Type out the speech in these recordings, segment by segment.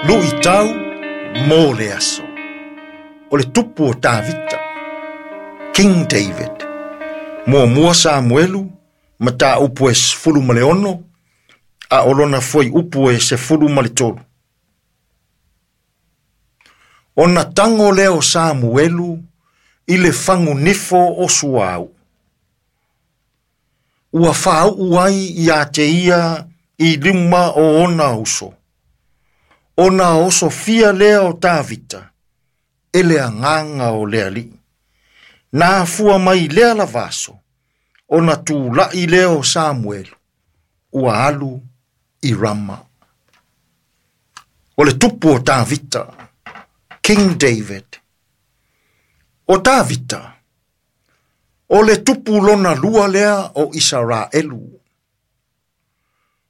Luʻitau mo le aso. O le tupu o Tavita, King David. Muamua Samuelu, mataupu e 16, a o lona fuaiupu e 13. Ona tago lea o Samuelu i le fagunifo o suauu. Ua faauu ai ia te ia i luma o ona uso. Ona osofia lea o Tavita e le agaga o le Alii. Na afua mai lea lava aso, ona tula'i lea o Samuelu, ua alu i Rama. O le tupu o Tavita, King David. O Tavita, o le tupu lona lua lea o Isaraelu.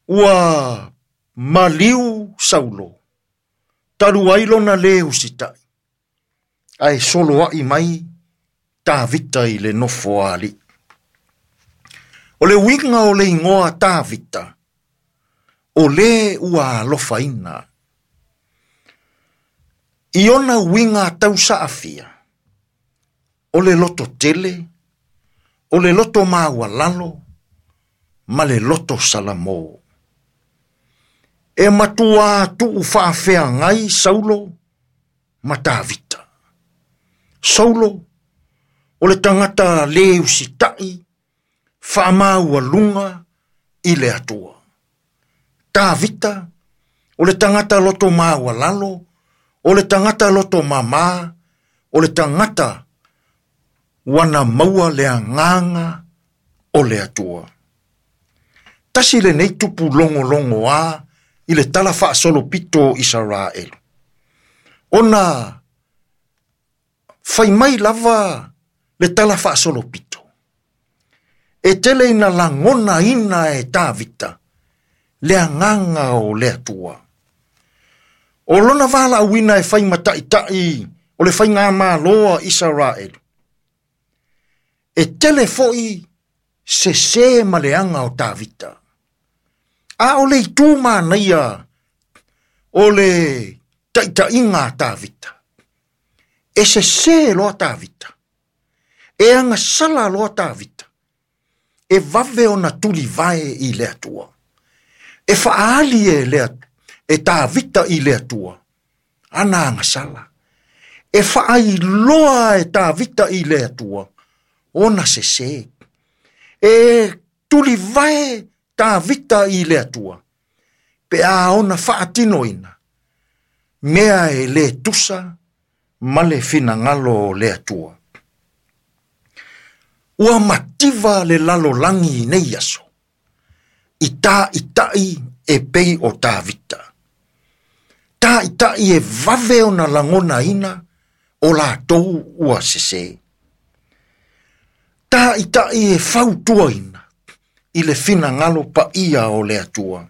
Ua maliu Saulo, talu ai lona lē usitai, ae soloa'i mai Tavita i le nofoaali'i. O le uiga o le igoa Tavita, o lē ua alofaina. I ona uiga tausaafia, o le loto tele, o le loto maualalo, ma le loto salamo. E matuā tuu faafeagai Saulo ma Tavita. Saulo, o le tagata lē usitai, faamaualuga i le Atua. Tavita, o le tagata loto maualalo, o le tagata loto mamā, o le tagata ua na maua le agaga o le Atua. Tasi lenei tupu logologoā i le tala faasolopito o Isaraelu. Ona fai mai lava le tala faasolopito. E tele ina lagonaina e Tavita le agaga o le Atua. O lona valaauina e fai ma taʻitaʻi o le faigamālo a Isaraelu. E tele foʻi sesē ma leaga o Tavita. A o le itu manaia o le taʻitaʻiga a Tavita. E sesē loa Tavita. E agasala loa Tavita. E vave ona tulivae i le Atua. E faaali e le e Tavita i le Atua ana agasala. E faailoa e Tavita i le Atua ona sesē. E tulivae Tavita i le Atua pe a ona faatinoina mea e lē tusa ma le finagalo o le Atua. Ua mativa le lalolagi i nei aso, i taʻitaʻi e pei o Tavita. Taʻitaʻi e vave ona lagonaina o latou ua sesē. Taʻitaʻi e fautuaina i le finagalo paia o le Atua.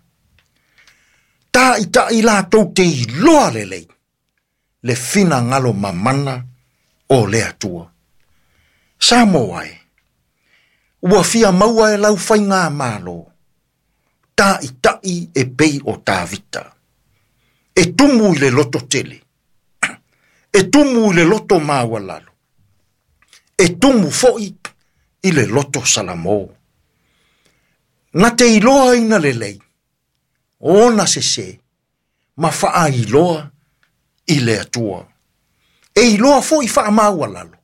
Taʻitaʻi latou te iloa lelei le finagalo mamana o le Atua. Samoa e, ua fia maua e lau faigamālo, taʻitaʻi e pei o Tavita. E tumu i le loto tele, e tumu i le loto maualalo, e tumu foʻi i le loto salamo. Na te iloaina lelei, ona sesē, ma faailoa i le Atua. E iloa foʻi faamaualalo,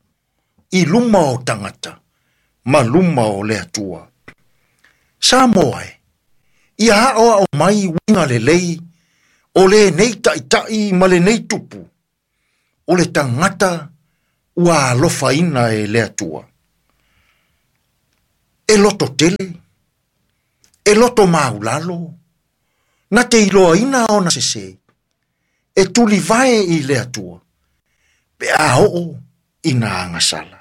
i luma o tagata, ma luma o le Atua. Samoa e, ia aʻoaʻo mai uiga lelei o lenei taʻitaʻi ma lenei tupu, o le tagata ua alofaina e le Atua. E loto tele, e loto maulalo, na te iloaina ona sesē, e tulivae i le Atua, pe a oo ina agasala.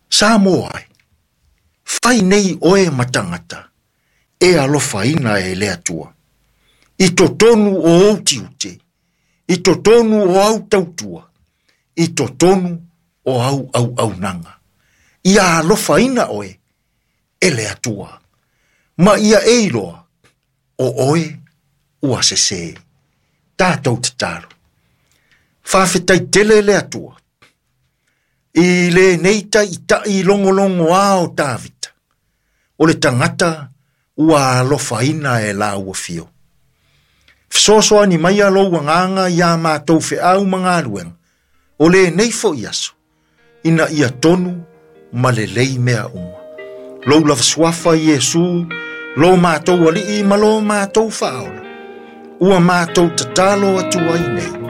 Samoa e, fai nei oe ma tagata e alofaina e le Atua. I totonu o ou tiute, i totonu o au tautua, i totonu o au auaunaga. Ia alofaina oe e le Atua. Ma ia e iloa, o oe ua sesē. Tatou tatalo. Faafetai tele le Atua i lenei taʻitaʻi logologoā o Tavita, o le tagata ua alofaina e lau afio. Fesoasoani mai lou agaga iā matou feau ma galuega, o lenei foi aso, ina ia tonu ma lelei mea uma. Lou lava suafa Iesu, lo matou alii ma lo matou faaola, ua matou tatalo atu ai nei.